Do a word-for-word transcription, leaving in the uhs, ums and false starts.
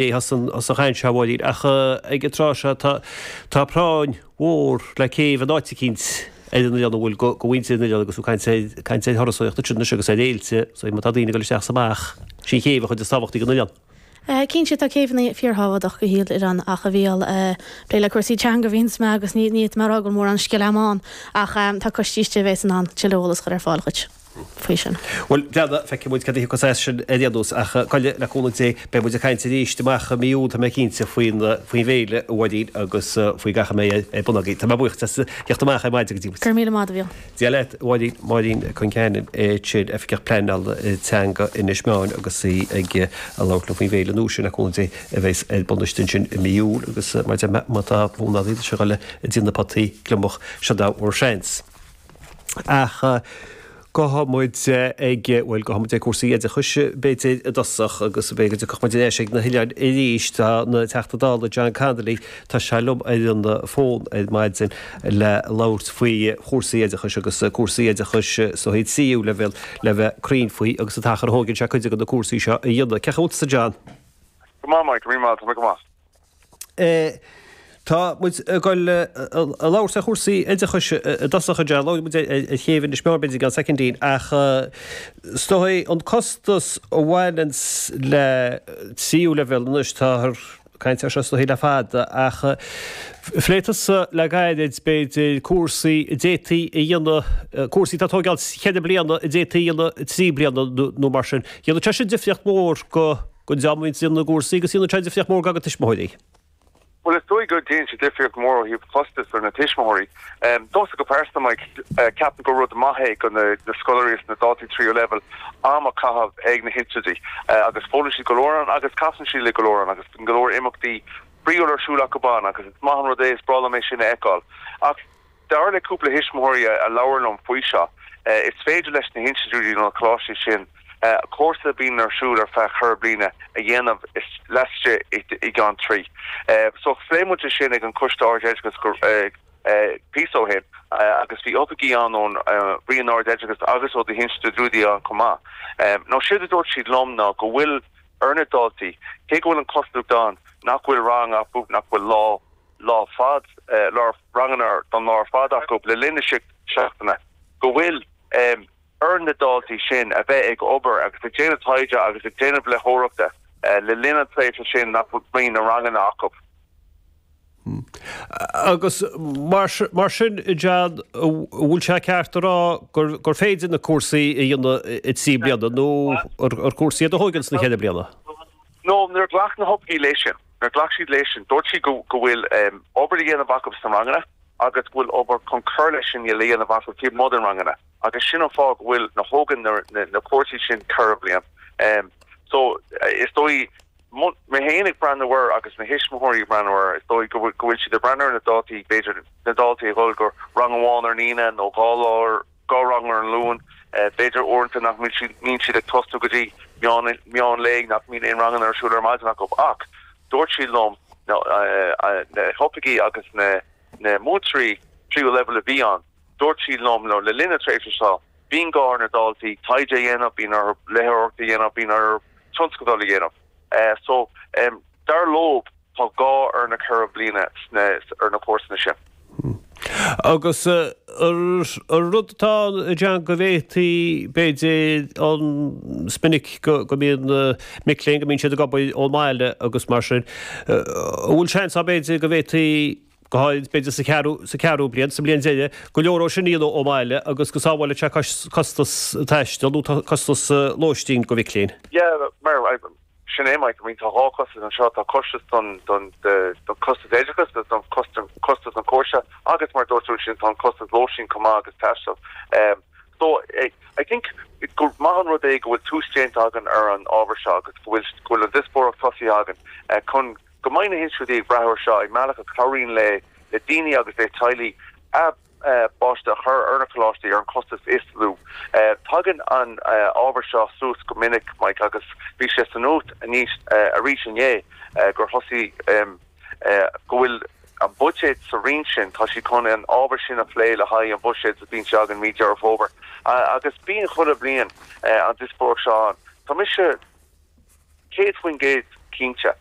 As an as an chaint seo, a Mháirín, ach ag an tráth seo tá tá práinn mhór le céibh in áit eicínt ar an oileán, an bhfuil, go go mhuintir an oileáin agus tú ag caint ar caint ar thurasóireacht ansin anois agus ar fhéilte, so má tá daoine ag dul isteach is amach, sí an chéibh an chuid is tábhachtaí den oileán. Cinnte tá céibheanna fíorthábhachtach do shaol oileáin ach a Mhícheáil, ag plé le cúrsaí teanga a bhíonns mé agus ní ní fhéadfaidh mé a rá go bhfuil mórán scil agam ann ach tá coistí istigh a bheas in ann tuilleadh eolas a chur ar fáil dhuit faoi sin. Bhuel, breathnaigh, feicfidh muid cad a thiocfas as sin ar aon nós, ach Coille, le cúnamh Dé, beidh muid ag caint arís amach i mí Iúil, tá mé cinnte, faoin faoin bhféile, a Mháirín, agus faoi gach a mbeidh ar bun agaibh. Tá mé buíoch as theacht amach ar maidin go dtí muid. Go raibh míle maith, a Mhícheáil. Dia leat, a Mháirín. Máirín Concannon, sin Oifigeach Pleanála Teanga Inis Meáin agus í ag labhairt linn faoin bhféile nua sin, le cúnamh Dé, a bheas ar bun istigh ansin i mí Iúil agus mar a deir mé, má tá fonn oraibh a dhul ag déanamh potaí gliomach, seo bhur seans. Ach gabhfaidh muid ag, bhuel, gabhfaidh muid ag cúrsaí oideachais b'fhéidir i dtosach agus b'fhéidir go dtiocfadh muid ar ais ag na hoileáin arís. Tá an Teachta Dála John Connolly, tá sé liom ar an bhfón ar maidin le labhairt faoi chúrsaí oideachais agus cúrsaí oideachais sa tríú leibhéal le bheith cruinn faoi agus an t-achar a thógann sé cuid de na cúrsaí seo a dhéanamh. Cén chaoi a bhfuil tusa John? Go maith Mike, go maith, tá mé go maith. Tá muid ag dul a labhairt ar chúrsaí oideachais i dtosach, a John. Labhróidh muid ar chéibh Inis Meáin b'fhéidir i gceann soicindín ach is dóigh an costas a bhaineanns le tríú leibhéal anois, táthar ag caint air seo is dóigh le fada ach phléigh tusa le gairid b'fhéidir cúrsaí a d'fhéadfaí a dhéanamh, cúrsaí atá ag tógáil cheithre bliana a d'fhéadfaí a dhéanamh trí bliana nó mar sin. Dhéanfadh sé sin difríocht mhór go don dream a bhíonns ag déanamh na gcúrsaí agus dhéanfadh sé difríocht mhór do tuismitheoirí. Bhuel, is dóigh go ndéanann sé difríocht mhór ó thaobh costais ar na tuismitheoirí. Domsa go pearsanta, Mike, ceapaim gur rud maith é go na scoláirí is na daltaí tríú leibhéal am a chaitheamh ag na hinstitiúidí agus foghlaimíonn siad go leor ann agus casann siad le go leor ann agus bíonn go leor imeachtaí spraíúil ar siúl acu ann agus is maith an rud é, is breá liom é sin a fheiceáil. Ach dar le cúpla thuismitheoirí a labhair liom faoi seo, is féidir leis na hinstitiúidí nó na coláistí sin cúrsa a bhíonn ar siúl ar feadh ceithre bliana a dhéanamh laistigh i gceann trí. So phléigh muid é sin ag an Coiste Ard-Oideachais píosa ó shin agus bhí oifigigh ann ón Roinn Ard-Oideachais agus ó na hinstitiúidí ann chomh maith. Now séard a dúirt siad liom ná go bhfuil ar na daltaí, cé go bhfuil an cosúlacht ann nach bhfuil rang acu, nach bhfuil lá, lá fad, lá ranganna don lá ar fad acu le linn na seachtaine, go bhfuil ar na daltaí sin a bheith ag obair agus ag déanamh taighde agus ag déanamh léitheoireachta le linn an tréimhse sin nach mbíonn na ranganna acu. Agus mar sin, John, an bhfuil sé ceart a rá gur féidir na cúrsaí a dhéanamh i trí bliana nó ar cúrsaí iad a thógann sna ceithre bliana? No, níor ghlac na hoifigigh léi sin. Níor ghlac siad léi sin. Dúirt siad go bhfuil obair a dhéanamh acu sna ranganna agus go bhfuil obair chun cur leis sin le dhéanamh acu taobh amuigh den ranganna agus sin an fáth go bhfuil na thógann na cúrsaí sin ceithre bliana. So is dóigh mé féin ag breathnú air agus na thuismitheoirí ag breathnú air, is dóigh go bhfuil siad ag breathnú ar na dátaí, b'fhéidir na daltaí ag dul go rang amháin ar an Aoine nó dhá lá ar dhá rang ar an Luan, b'fhéidir uaireanta nach mbíonn siad ag tosnú go dtí meán meán lae, nach mbíonn aon ranganna ar siúl ar maidin acu. Ach dúirt siad liom na hoifigigh agus na na múinteoirí tríú leibhéal a bhí ann, dúirt siad liom le linn na tréimhse seo, bíonn gá ar na daltaí taighde a dhéanamh, bíonn orthu léitheoireacht a dhéanamh, bíonn orthu tionscadal a dhéanamh. So, dar leo, tá gá ar na ceithre bliana sna, ar na cúrsanna sin. Agus an rud atá ann, a John, go bhféadfaí, b'fhéidir, an, is minic go mbíonn mic léinn, go mbíonn siad ag obair ón mbaile agus mar sin, an bhfuil seans ann, b'fhéidir, go bhféadfaí, go háirid, b'fhéidir, sa cheathrú, sa cheathrú bliain, sa mbliain deiridh, go leor dhó sin a dhéanamh ón mbaile agus go sábhálfadh sé costas taistil nó costas lóistín do mhic léinn? Yeah, mar, sin é, Mike, I mean, tá dhá chostas anseo, tá costas don, don, don costas oideachais agus don costas, costas an chúrsa agus mar a dúirt tú ansin, tá an costas lóistín chomh maith agus taistil. Um, so, I, I think gur maith an rud é go bhfuil tús déanta againn ar an ábhar seo agus go bhfuil, go bhfuil an díospóireacht tosaithe againn uh, chun go mbeidh na hinstitiúidí ag breathnú air seo i mbealach a chabhraíonn le le daoine agus le teaghlaigh a bpáiste a chur ar na coláistí ar an costas is lú. Tagann an ábhar seo suas go minic, Mike, agus bhí sé sa nuacht arís inné gur thosaigh go bhfuil an buiséad sa roinn sin, tá siad chun an ábhar sin a phlé le haghaidh an bhuiséid a bhíonn sé againn mí Deireadh Fómhair. Agus bíonn chuile bhliain an díospóireacht seo ann. Tá mise. céad faoin gcéad cinnte